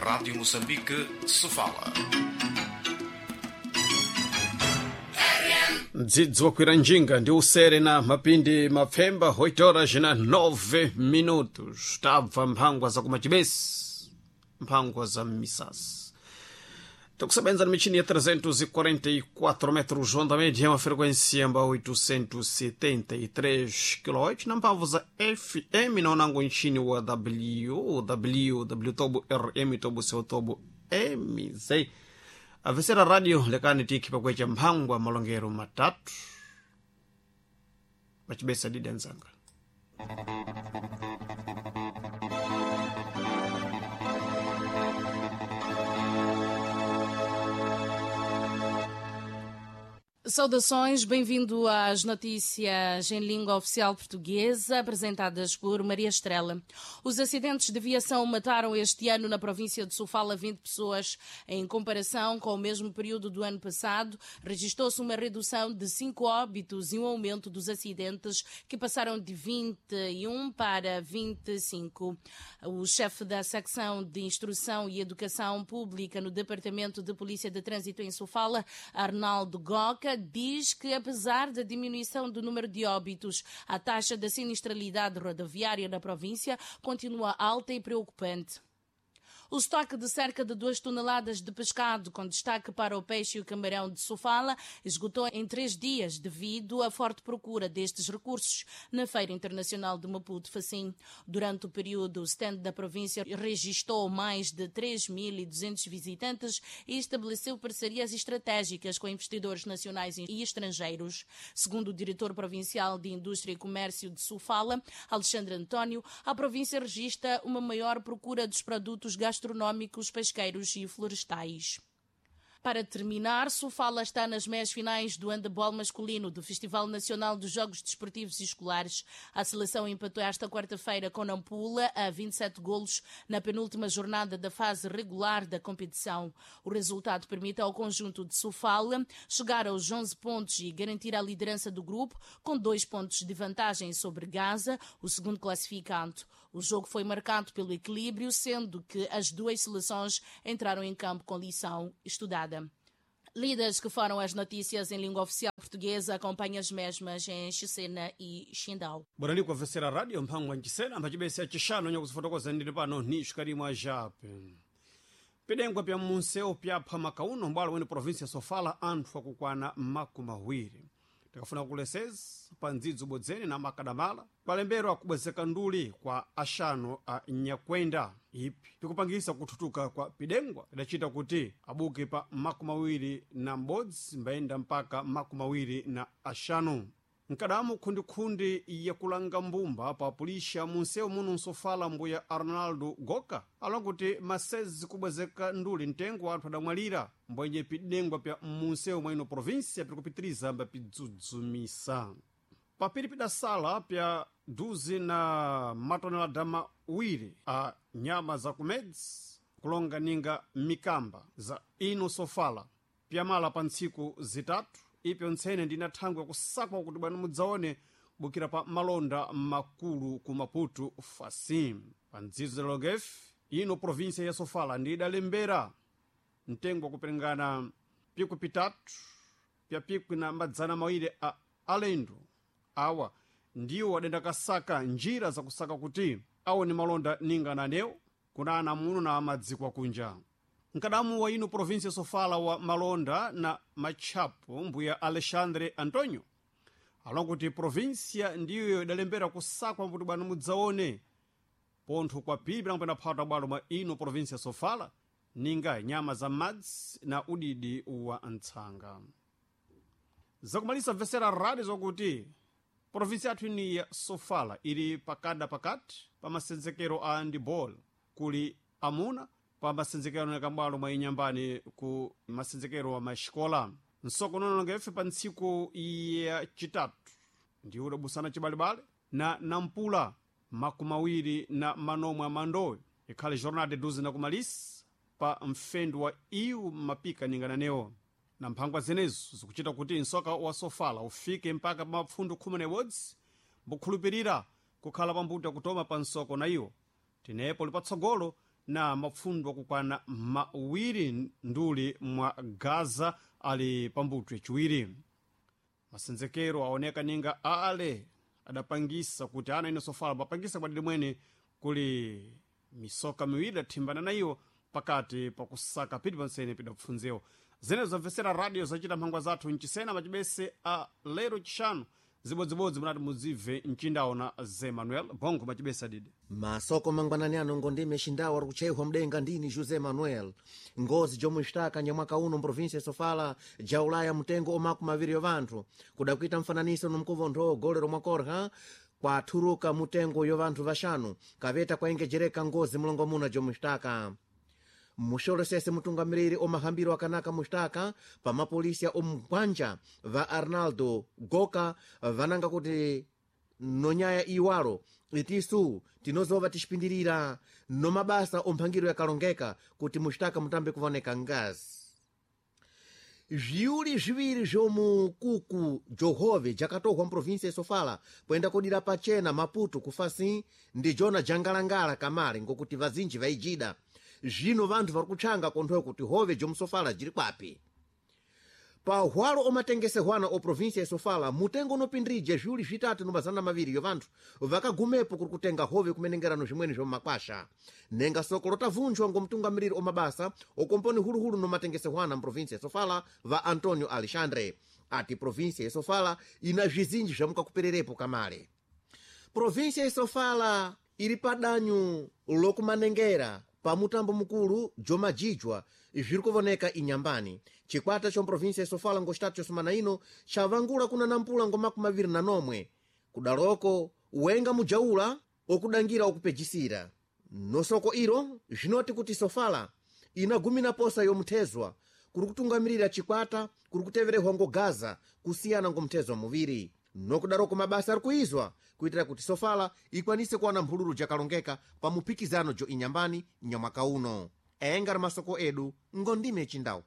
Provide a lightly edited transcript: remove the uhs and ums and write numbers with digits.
Rádio Moçambique, Sofala. Mdzidzi wakwira njinga ndi usere na mapindi mapfemba 8 horas na 9 minutos. Tabva mphangwa za kumachibesi, mphangwa za misasi. Tokusebenza na michini ya 344 metros onda média, uma frequência amba 873 kHz na mphamvu za FM na unango nchini wa www tobo rm tobo seu tobo mz. Avesera radio lekani tiki pakwecha mphangwa malongero matatu machibesa didi anzanga. Saudações, bem-vindo às notícias em língua oficial portuguesa, apresentadas por Maria Estrela. Os acidentes de viação mataram este ano na província de Sofala 20 pessoas. Em comparação com o mesmo período do ano passado, registou-se uma redução de 5 óbitos e um aumento dos acidentes, que passaram de 21 para 25. O chefe da secção de Instrução e Educação Pública no Departamento de Polícia de Trânsito em Sofala, Arnaldo Goca, diz que, apesar da diminuição do número de óbitos, a taxa da sinistralidade rodoviária na província continua alta e preocupante. O estoque de cerca de 2 toneladas de pescado, com destaque para o peixe e o camarão de Sofala, esgotou em 3 dias devido à forte procura destes recursos na Feira Internacional de Maputo Facim. Durante o período, o stand da província registrou mais de 3.200 visitantes e estabeleceu parcerias estratégicas com investidores nacionais e estrangeiros. Segundo o diretor provincial de Indústria e Comércio de Sofala, Alexandre António, a província registra uma maior procura dos produtos gastronómicos, pesqueiros e florestais. Para terminar, Sofala está nas meias finais do handebol masculino do Festival Nacional dos Jogos Desportivos e Escolares. A seleção empatou esta quarta-feira com Nampula a 27 golos na penúltima jornada da fase regular da competição. O resultado permite ao conjunto de Sofala chegar aos 11 pontos e garantir a liderança do grupo com 2 pontos de vantagem sobre Gaza, o segundo classificado. O jogo foi marcado pelo equilíbrio, sendo que as duas seleções entraram em campo com lição estudada. Lidas que foram as notícias em língua oficial portuguesa, acompanha as mesmas em Xicena e Xindau. Bora com a Vecera Rádio, mphangwa nchisena, mphachibesa chixano nyakuzifotokoza ndili pano ni xikalimwa jape. Pidengwa pya munseu pyapha makauno mbwalo wene província Sofala anthu akukwana makumi awiri. Tikafuna kuleseza pa ndzidzi ubodzene na makadamala kwalembero akubwezeka nduli kwa axanu a nyakwenda ipi pikupangisa kuthutuka kwa pidengwa idacita kuti abuke pa 21 mbayenda mpaka 25. Nkadamu khundikhundi yakulanga mbumba pa pulisha munsewu muno nsofala mbuya Arnaldo Goka alonga kuti masezi kubwezeka nduli mtengo wa anthu adamwalira mbwenje pidengwa pya munsewu mwa ino província pirikupitiriza mba pidzudzumisa. Papiri pidasala pya duzi na matonelada mawiri a nyama za kumedzi kulonga ninga mikamba za ino Sofala pyamala pa ntsiku zitatu ipyo ntsene ndina thangwe kusakwa kuti bwana mudzaone bukira pa malonda makulu ku Maputo Facim. Pa ndzidzo za Logef ino província ya Sofala ndi idalembera mtengo wakuperengana pikwi pitatu pya pikwi na madzana mawiri a alendo awa ndiwo adenda kasaka njira zakusaka kuti aone malonda ninga nanewo kuna ana muno na amadziko akunja. Nkadamu wa ino província Sofala wa malonda na matchapo mbuya Alexandre Antonio alonga kuti província ndiyo idalembera kusakwa kuti bwana mudzaone pontho kwa pili pilango pena bwalo mwa ino província Sofala ninga nyama za madzi na udidi wa ntsanga. Zakumalisa mvesera radio zokuti província yathu ini ya Sofala ili pakada pakati pa masenzekero a handball kuli amuna pa masenzekero yakambwalo mwa inyambani ku masenzekero wa maxikola. Nsoko nononga ife pa ntsiku ya chitatu ndiwo udabusana chibalebale na Nampula 24 amandowe ikhale jornada duzi na kumalisa pa mfendu wa iwu mapika ningananewo na mphangwa zenezo zikuchita kuti nsoka wa Sofala ufike mpaka pa mapfundu 11 mbukhulupirira kukhala pambuto kutoma pa nsoko na iwo tinepo li patsogolo. Na mapfundo akukwana mawiri nduli mwa Gaza ali pambuto yaciwiri. Masenzekero aoneka ninga ale adapangisa kuti ana ine Sofala bapangisa kwadidi mwene kuli misoka miwiri dathimbana na iwo pakati pakusaka piti pansene pidapfunzewo. Zenezo zamvesera radio zachita mphangwa zathu mchisena macibese a lero chishanu zibodzibodzi munati muzibve mchindawo na Ze Manuel Bongo macibese adidi. Masoko mangwanani ano ngondime xindawo ari kuchehwa mdenga ndini José Manuel. Ngozi jomwe xitaka nyamwaka uno mprovinsia ya Sofala jaulaya mutengo omaku maviri yo vanthu kuda kuita mfananiso nomkuvontho golero mwakorha kwathuruka mutengo yo vanthu vaxanu kaveta kwaengejereka ngozi mulongomuna jomwe xitaka. Muxolosese mutungamiriri omahambiro akanaka muxitaka pamapolisiya omugwanja va Arnaldo Goka vananga kuti nonyaya iwalo itisu tinozova tixipindirira nomabasa omphangiro yakalongeka kuti muxitaka mutambe kuvoneka ngazi. Zviuli zviwiri zvomukuku johove jakatohwa mprovinsia ya Sofala poenda kudira pachena Maputo kufasi ndi jona jangalangala kamale ngokuti vazinji vaijida. Zvino vanthu vari kutchanga konthoyo kuti hove jomusofala jiri kwapi. Pahwalo omatengesehwana o provinsia ya Sofala mutengo unopindirija zviuli 3 no 200 yo vanthu vakagumepo kuri kutenga hove kumenengerano zvimweni zvomumakwasha. Nenga soko lotavunjwa ngomtungamiriri omabasa okomponi huluhulu nomatengesehwana mprovinsia ya Sofala va Antonio Alexandre ati provinsia ya Sofala ina zvizinji zvamukakupererepo kamale. Provinsia ya Sofala iri padanyu lokumanengera pamutambo mukulu jomajijwa zviri kuvoneka inyambani. Chikwata cha provinsia ya Sofala ngo xitatu cha sumana ino chavangula kuna nampula ngo 27 kudaloko wenga mujaula okudangira okupejisira. Nosoko ilo zvinoti kuti Sofala inagumina posa yomuthezwa kuri kutungamirira chikwata kuri kuteverehwa ngo Gaza kusiyana ngo muthezwa muviri. Nokudaroko mabasa ari kuizwa kuitira kuti Sofala ikwanise kuwana mphululu jakalongeka pa muphikizano jo inyambani nyamwaka uno. Enga ri masoko edu ngondime chindau.